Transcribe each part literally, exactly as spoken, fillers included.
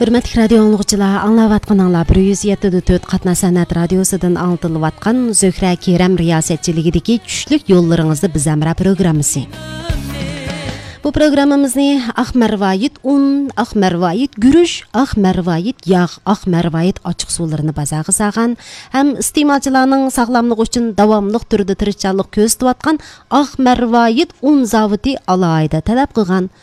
ھۆرمەتلىك رادىيو ئاڭلىغۇچىلار، ئاڭلاۋاتقىنىڭلار بىر يۈز يەتتە نۆقتە تۆت قاتناش سەنئەت رادىيوسىدىن ئاڭلىتىلىۋاتقان زۆھرە كېرەم رىياسەتچىلىكىدىكى چۈشلۈك يوللىرىڭىزدا بىز ھەمراھ پروگراممىسى. بۇ پروگراممىمىزنى ئاق مەرۋايىت ئۇن، ئاق مەرۋايىت گۈرۈچ، ئاق مەرۋايىت ياغ، ئاق مەرۋايىت ئاچچىق سۇلىرىنى بازارغا سالغان ھەم ئىستېمالچىلارنىڭ ساغلاملىقى ئۈچۈن داۋاملىق تۈردە تىرىشچانلىق كۆرسىتىۋاتقان ئاق مەرۋايىت ئۇن زاۋۇتى ئالاھىدە تەلەپ قىلغان.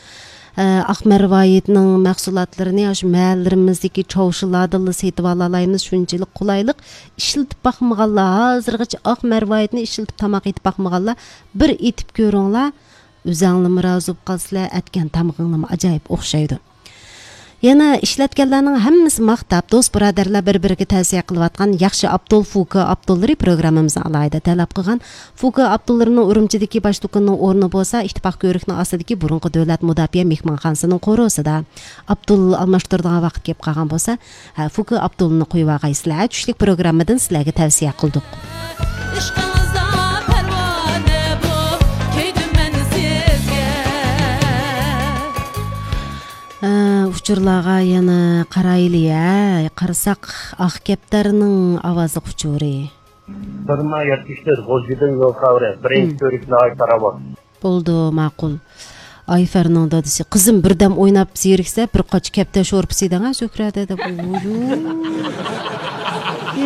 ئە، ئاق مەرۋايىتنىڭ مەھسۇلاتلىرىنى ئاشۇ مەھەللىلىرىمىزدىكى چاۋشىلاردىنلا سېتىۋالالايمىز، شۇنچىلىك قولايلىق. ئىشلىتىپ باقمىغانلار، ھازىرغىچە ئاق مەرۋايىتنى ئىشلىتىپ تاماق ئېتىپ باقمىغانلار، بىر ئېتىپ كۆرۈڭلار. ئۆزەڭلىمۇ رازى بولۇپ قالىسىلەر، ئەتكەن تامىقىڭلىمۇ ئاجايىپ ئوخشايدۇ. يەنە ئىشلەتكەنلەرنىڭ ھەممىسى ماختاپ، دوست بۇرادەرلەر بىر بىرىگە تەۋسىيە قىلىۋاتقان ياخشى ئابدۇل فۇكا ئابدۇللىرى پروگراممىمىزنى ئالاھىدە تەلەپ قىلغان. فۇكا ئابدۇللىرىنىڭ ئۈرۈمچىدىكى باش دۇكىنىنىڭ ئورنى بولسا ئىتتىپاق كۆۋرۈكنىڭ ئاستىدىكى بۇرۇنقى دۆلەت مۇداپىئە مېھمانخانىسىنىڭ قورۇسىدا. ئابدۇل ئالماشتۇرىدىغان ۋاقىت كېلىپ قالغان بولسا، ھە، فۇكا ئابدۇلنى قويۇۋالغايسىلەر، چۈشلۈك پروگراممىدىن سىلەرگە تەۋسىيە قىلدۇق. ئىشقىڭىزدا پەرۋانە بولۇپ كۆيدۈم مەن سىزگە. ئە، ئۇچۇرلارغا يەنە قارايلى، ھە. قارىساق، ئاق كەپتەرنىڭ ئاۋازلىق ئۇچۇرى. بىر مىڭ يەتمىش تۆت، غۇلجىدىن يول خەۋىرى، بىرىنچى كۆرۈش ناھايىتى راۋان. بولىدۇ، ماقۇل. ئايفەرنىڭ دادىسى، قىزىم بىردەم ئويناپ زېرىكسە، بىر قاچا كەپتەر شورپىسى يېدىڭە، زۆھرەدە، دەپ. ۋويۇ.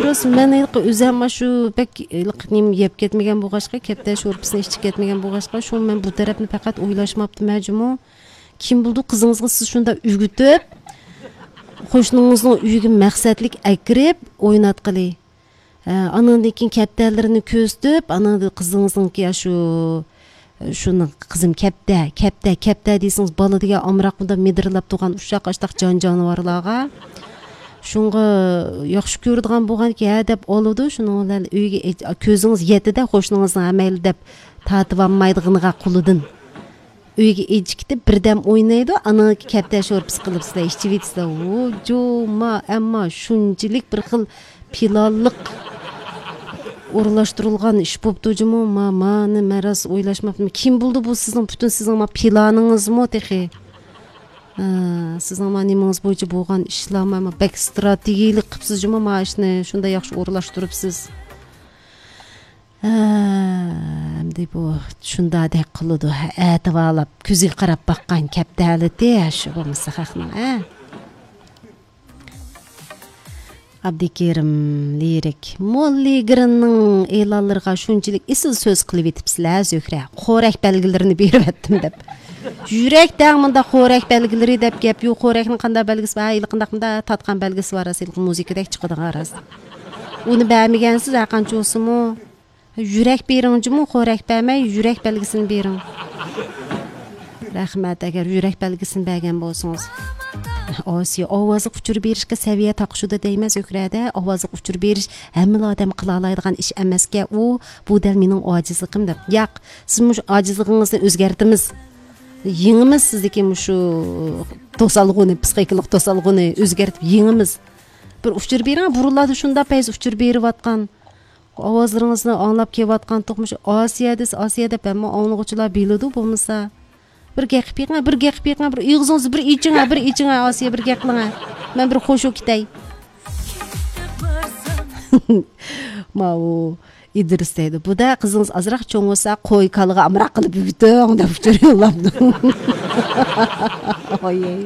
راست، مەن ھېلىقى ئۆزۈم شۇ بەك ھېلىقى نېمە يەپ كەتمىگەن بولغاچقا، كەپتەر شورپىسىنى ئىچىپ كەتمىگەن بولغاچقا، شۇڭا مەن بۇ تەرەپنى پەقەت ئويلاشماپتىمەن جۇمۇ. كىم بىلىدۇ، قىزىڭىزغا سىز شۇنداق ئۆگىتىپ، قوشنىڭىزنىڭ ئۆيىگە مەقسەتلىك ئەكىرىپ ئويناتقىلى. ھە، ئانىڭدىن كېيىن كەپتەرلىرىنى كۆرسىتىپ، ئانىڭدىن قىزىڭىزنىڭكى ئاشۇ، شۇنىڭ قىزىم كەپتە، كەپتە، كەپتە دېسىڭىز، بالا دېگەن ئامراق، بۇنداق مىدىرلاپ تۇرغان ئۇششاق ئاشتاق جان جانىۋارلارغا. شۇڭغا ياخشى كۆرىدىغان بولغانكى، ھە دەپ ئالىدۇ، شۇنىڭ بىلەن ئۆيگە ئېچ-، كۆزىڭىز يەتتىدە، قوشنىڭىزنىڭ ھەمەيلى دەپ تارتىۋالمايدىغىنىغا قولىدىن. ئۆيگە ئېچىكىتىپ بىردەم ئوينايدۇ، ئانىڭ كەپتە شورپىسى قىلىپ سىلەر ئىچىۋېتىسىلەر. ۋو جۇما، ئەمما شۇنچىلىك بىر خىل پىلانلىق ئورۇنلاشتۇرۇلغان ئىش بوپتۇ جۇمۇ. ما، مانى مەن راست ئويلاشماپتىمەن. كىم بىلدى بۇ سىزنىڭ پۈتۈن سىزنىڭ ما پىلانىڭىزمۇ تېخى؟ ھە، سىزنىڭ ما نېمىڭىز بويىچە بولغان ئىشلارمۇ، ما بەك ستراتېگىيىلىك قىپسىز جۇمۇ، ما ئىشنى شۇنداق ياخشى ئورۇنلاشتۇرۇپسىز. ھە، ئەمدى بۇ شۇنداقدەك قىلىدۇ، ھە، ئەتىۋارلاپ كۆزىگە قاراپ باققان كەپتە ھالىتى، ھە، شۇ بولمىسا خەقنىڭ، ھە. ئابدۇكېرىم لىرىك. موللا گىرىننىڭ ئېلانلىرىغا شۇنچىلىك ئېسىل سۆز قىلىۋېتىپسىلەر، زۆھرە. خورەك بەلگىلىرىنى بېرىۋەتتىم دەپ. يۈرەك دەڭ مۇنداق خورەك بەلگىلىرى دەپ گەپ يوق. خورەكنىڭ قانداق بەلگىسى بار؟ ھېلىقىنداق مۇنداق تارتقان بەلگىسى بار، راست، ھېلىقى مۇزىكىدەك چىقىدىغان، راست. ئۇنى بەرمىگەنسىز، ھەرقانچە بولسىمۇ. يۈرەك بېرىڭ جۇمۇ، خورەك بەرمەي، يۈرەك بەلگىسىنى بېرىڭ. رەھمەت، ئەگەر يۈرەك بەلگىسىنى بەرگەن بولسىڭىز. ئاسىيە، ئاۋازلىق ئۇچۇر بېرىشكە سەۋىيە تاقىشىدۇ دەيمەن، زۆھرەدە. ئاۋازلىق ئۇچۇر بېرىش ھەممىلا ئادەم قىلالايدىغان ئىش ئەمەسكەن ئۇ، بۇ دەل مېنىڭ ئاجىزلىقىم دەپ. ياق، سىز مۇشۇ ئاجىزلىقىڭىزنى ئۆزگەرتىمىز. يېڭىمىز سىزدىكى مۇشۇ توسالغۇنى، پسىخىكىلىق توسالغۇنى ئۆزگەرتىپ يېڭىمىز. بىر ئۇچۇر بېرىڭ، بۇرۇنلاردا شۇنداق پەيز ئۇچۇر بېرىۋاتقان. ئاۋازلىرىڭىزنى ئاڭلاپ كېلىۋاتقانتۇق، مۇشۇ ئاسىيە دېسە ئاسىيە دەپ ھەممە ئاڭلىغۇچىلار بىلىدۇ بولمىسا. بىر گەپ قىلىپ بېقىڭ، بىر گەپ قىلىپ بېقىڭ، بىر ئېغىزىڭىزنى بىر ئېچىڭ، بىر ئېچىڭ، ئاسىيە، بىر گەپ قىلىڭ. مەن بىر خوش بولۇپ كېتەي. ماۋۇ ئىدرىس دەيدۇ. بۇدا قىزىڭىز ئازراق چوڭ بولسا، قوي كالىغا ئامراق قىلىپ يۈگۈتۈڭ دەپ ئۇچۇر يوللاپتۇ. ئاي، ئاي.